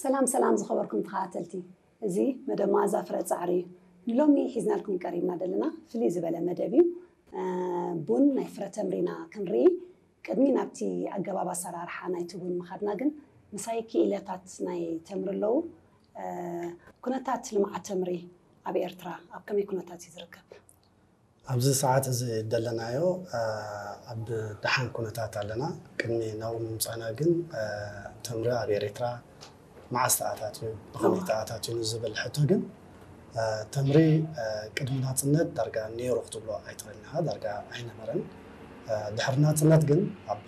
ሰላም ሰላም ዝኸበርኩም ተኸታተልቲ፣ እዚ መደብ መኣዛ ፍረ ጻዕሪ እዩ። ንሎሚ ሒዝናልኩም ቀሪብና ዘለና ፍልይ ዝበለ መደብ እዩ። ቡን ናይ ፍረ ተምሪና ክንርኢ፣ ቅድሚ ናብቲ ኣገባብ ኣሰራርሓ ናይቲ ቡን ምኻድና ግን ምሳይ ክኢላታት ናይ ተምሪ ኣለዉ። ኩነታት ልምዓት ተምሪ ኣብ ኤርትራ ኣብ ከመይ ኩነታት እዩ ዝርከብ? ኣብዚ ሰዓት እዚ ደለናዮ ኣብ ደሓን ኩነታት ኣለና። ቅድሚ ናብኡ ምምፃና ግን ተምሪ ኣብ ኤርትራ መዓስ ተኣታትዩ፣ ብኸመይ ተኣታትዩ ንዝብል ሕቶ ግን ተምሪ ቅድሚ ናፅነት ዳርጋ ነይሩ ክትብሎ ኣይትኽእልን ኢኻ። ዳርጋ ኣይነበረን። ድሕሪ ናፅነት ግን ኣብ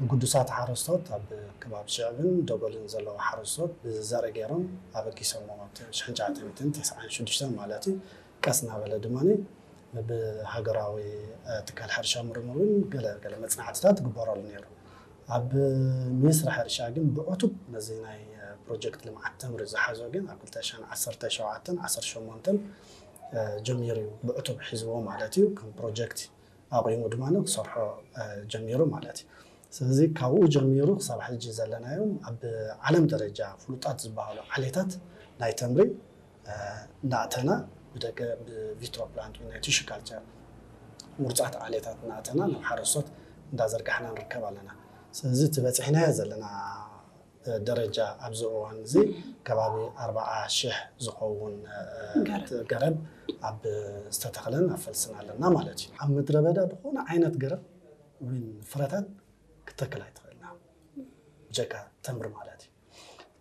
ንግዱሳት ሓረስቶት ኣብ ከባቢ ሽዕብን ደጎልን ዘለዉ ሓረስቶት ብዘርኢ ገይሮም ኣበጊሶሞ ሽሕን ትሽዓተ ሚእትን ተስዓን ሽዱሽተን ማለት እዩ። ቀስ እናበለ ድማ ብሃገራዊ ትካል ሕርሻ ምርምር እውን ገለ ገለ መፅናዕትታት ግበረሉ ነይሩ። ኣብ ሚኒስትሪ ሕርሻ ግን ብዕቱብ ነዚ ናይ ፕሮጀክት ልምዓት ተምሪ ዝሓዞ ግን ኣብ ክልተ ሽሕን ዓሰርተ ሸውዓተን ዓሰርተ ሸሞንተን ጀሚሩ እዩ ብዕቱብ ሒዝዎ ማለት እዩ። ከም ፕሮጀክት ኣቑሙ ድማ ክሰርሖ ጀሚሩ ማለት እዩ። ስለዚ ካብኡ ጀሚሩ ክሳብ ሕጂ ዘለናዮም ኣብ ዓለም ደረጃ ፍሉጣት ዝበሃሉ ዓሌታት ናይ ተምሪ እናእተና ብደገ ብቪትሮ ፕላንት ወይ ናይ ቲሹ ካልቸር ምርፃት ዓሌታት እናእተና ናብ ሓረስቶት እንዳዘርጋሕና ንርከብ ኣለና። ስለዚ እቲ በፂሕናዮ ዘለና ደረጃ ኣብዚ እዋን እዚ ከባቢ ኣርባዓ ሽሕ ዝኸውን ገረብ ኣብ ዝተተኽለን ኣብ ፈልስን ኣለና ማለት እዩ። ኣብ ምድረ በዳ ዝኾነ ዓይነት ገረብ ወይ ፍረታት ክትተክል ኣይትኽእልና ብጀካ ተምሪ ማለት እዩ።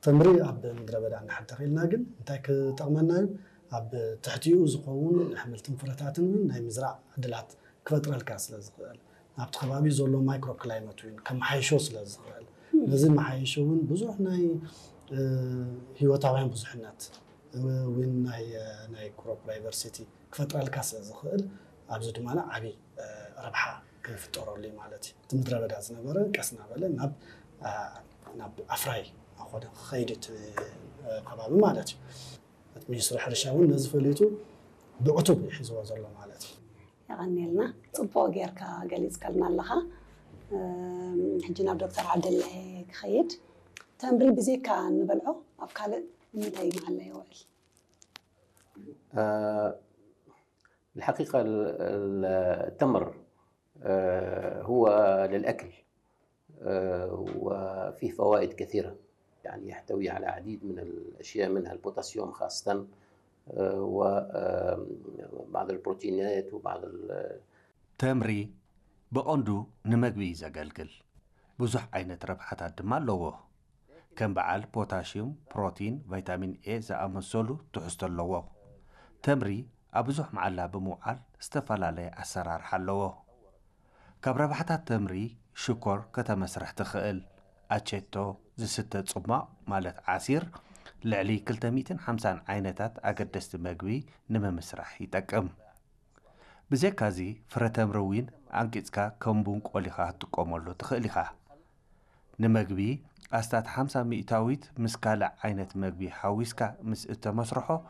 ተምሪ ኣብ ምድረ በዳ እንድሕር ተኺልና ግን እንታይ ክጠቕመና እዩ? ኣብ ትሕቲኡ ዝኸውን ኣሕምልትን ፍረታትን እውን ናይ ምዝራእ ዕድላት ክፈጥረልካ ስለ ዝኽእል ናብቲ ከባቢ ዘሎ ማይክሮ ክላይመት እውን ከመሓይሾ ስለ ዝኽእል ነዚ መሓየሾ እውን ብዙሕ ናይ ህይወታውያን ብዙሕነት እውን ናይ ናይ ክሮፕ ዳይቨርሲቲ ክፈጥረልካ ስለ ዝኽእል ኣብዚ ድማ ዓብዪ ረብሓ ክፍጠረሉ እዩ ማለት እዩ። እቲ ምድረ በዳ ዝነበረ ቀስ እናበለ ናብ ናብ ኣፍራይ እናኾነ ክኸይድ እቲ ከባቢ ማለት እዩ። እቲ ሚኒስትሪ ሕርሻ እውን ነዚ ፈሊጡ ብዕቱብ እዩ ሒዝዎ ዘሎ ማለት እዩ። የቐንየልና፣ ፅቡቕ ጌርካ ገሊፅካልና ኣለኻ። ሕጂ ናብ ዶክተር ዓብደላይ ክኸይድ። ተምሪ ብዘይካ እንበልዖ ኣብ ካልእ ንምንታይ መዓላ ይውዕል? الحقيقة التمر هو للأكل وفيه فوائد كثيرة، يعني يحتوي على عديد من الأشياء منها البوتاسيوم خاصة وبعض البروتينات وبعض ተምሪ ብቐንዱ ንመግቢ እዩ ዘገልግል። ብዙሕ ዓይነት ረብሓታት ድማ ኣለዎ። ከም በዓል ፖታሽዩም፣ ፕሮቲን፣ ቫይታሚን ኤ ዝኣመሰሉ ትሕዝቶ ኣለዎ። ተምሪ ኣብ ብዙሕ መዓላ ብምውዓል ዝተፈላለየ ኣሰራርሓ ኣለዎ። ካብ ረብሓታት ተምሪ ሽኮር ከተመስርሕ ትኽእል። ኣቼቶ ዝስተ ጽሟቕ ማለት ዓሲር ልዕሊ ክልተ ሚእትን ሓምሳን ዓይነታት ኣገደስቲ መግቢ ንምምስራሕ ይጠቅም። ብዘይካዚ ፍረ ተምሪ እውን ኣንቂጽካ ከም ቡን ቆሊኻ ክትጥቀመሉ ትኽእል ኢኻ። ንመግቢ ኣስታት ሓምሳ ሚእታዊት ምስ ካልእ ዓይነት መግቢ ሓዊስካ ምስ እተመስርሖ